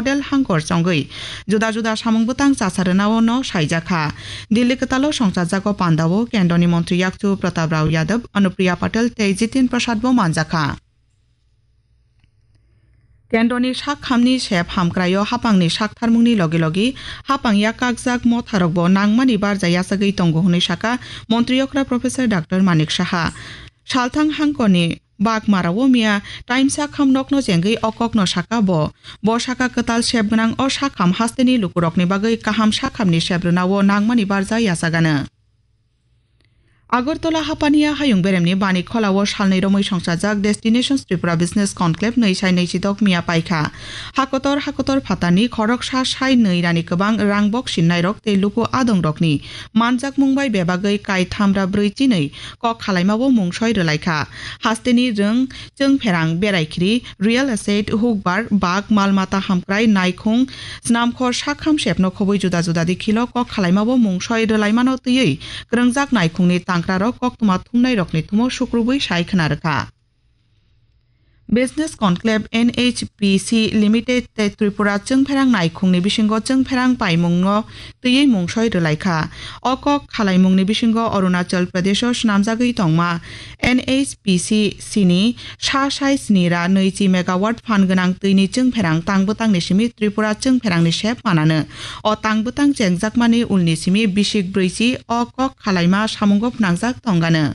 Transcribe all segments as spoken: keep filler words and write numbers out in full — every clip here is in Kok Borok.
Patel hangkor chongwi juda juda samung bwtang chasa rwnao no saijakha. Delhi kwtalo songchajago pandao kendroni montri yakchu Pratap Rao Yadav, Anupriya Patel tei Jitin Prasad bo manjakha. Kendroni sak khamni sep hamkraio hapangni sak tharmungni logi logi hapang yak kakjak motharokbo nangmani barja yachagwi tongo hwnwi saka montri okra Professor Doctor Manik Saha. Salthang hangkoni Bagmarao miya taimsa kham nokno chengwi o kokno saka bo. Bo saka kwtal sep gwnang o sakham hasteni lukurokni bagwi kaham sakhamni sep rwnao nangmani barja yachagano. Agartala hapaniya hayung beremni bani kholao salnwi romwi songchajak Destinations Tripura Business Conclave nwi sai nwi chidok miya paikha. Hakotor hakotor phatarni khoroksa sai nwi rani kwbang rang bok sinnairok tei luku adongrokni manjakmung bai bebagwi kai thamra brwi chinwi kok khalaimao mungsoi rwlaikha. Hasteni rwng chwngpherang, beraikhiri, real estate, hukbar, bag, mal mata hamkrai, naikhung, snamkhor, sakham sepno khobwi juda juda dikhilo kok khalaimao mungsoi rwlaimano twiwi kwrwngjak naikhungni tangkrarok koktwma thumnairokni thumo sukrubwi sai khna rwkha. Business Conclave N H P C Limited tei Tripura chwngpherang naikhungni bisingo chwngpherang paimungno twiwi mungsoi rwlaikha. O kok khalaimungni bisingo Arunachal Pradesho swnamjagwi tongma N H P C ni sa sai sni ra nwichi megawatt phan gwnang twini chwngpherang tang bwtangni simi Tripura chwngpherangni sep manano. O tang bwtang chengjakmani ulni simi bisik brwichi o kok khalaima samungo phnangjak tongano.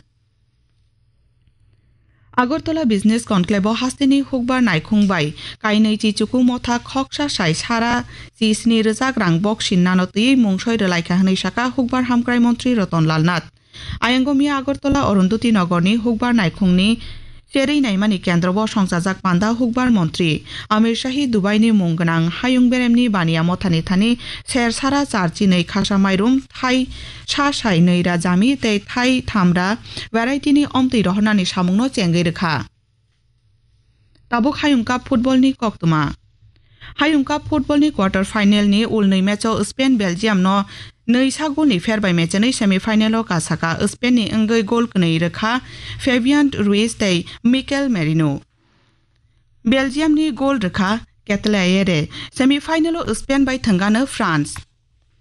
Agartala Business Conclave o hasteni hukbar naikhung bai kainwi chichuku motha khoksa sai sara chi sni rwjak rang bok sinnano twiwi mungsoi rwlaikha hwnwi saka hukbar hamkrai montri Ratan Lal Nath. Ayang miya Agartala Arundhati Nagarni hukbar naikhungni cherwi naimani kendro bo songchajak panda hukbar montri Amir Shahi Dubaini mung gwnang hayung beremni baniya mothani thani ser sara char chinwi khasa mairum thai sa sai nwi ra jami tei thai tham ra variety ni omtwi rohornani samungno chengwi rwkha. Tabuk Hayung Cup football ni koktwma. Hayung Cup football ni quarter final ni ulnwi match o Spain Belgium no nwi sa goal ni pher bai mechenwi semi final o kasaka. Spain ni wngwi goal kwnwi rwkha Fabian Ruiz tei Mikel Merino. Belgium ni goal rwkha Ketelaere. Semi final o Spain bai thwngano France.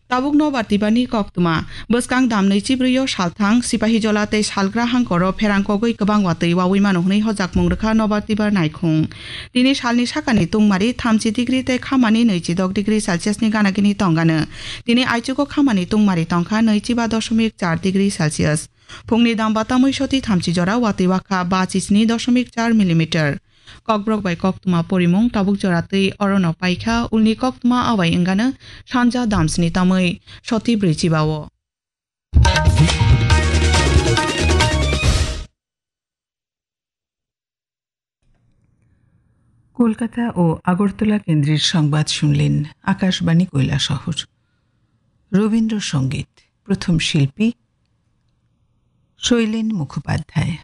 Tabuk nobar tibani koktwma. Bwskang damnwi chibrwi o salthang Sipahijola tei salgra hangkoro pherang kogwi kwbang watwi wawi mano hwnwi hojakmung rwkha nobar tibar naikhung. Tini salni sakani tungmari thamchi degree tei khamani nwichi dok degree Celsius ni ganagini tongano. Tini aichugo khamani tungmari tongkha nwichi ba dosomik char degree Celsius. Phungni dam batamwi soti thamchi jora watwi wakha ba chisni dosomik char millimeter. Kokborok bai koktwma porimung tabuk jora twi orono paikha, ulni koktwma abai wngano sanja damsni tamwi soti brwi chibao. Kolkata ও আগরতলা কেন্দ্রের সংবাদ শুনলেন আকাশবাণী কৈলাসহর। রবীন্দ্রসঙ্গীত, প্রথম শিল্পী শৈলেন মুখোপাধ্যায়।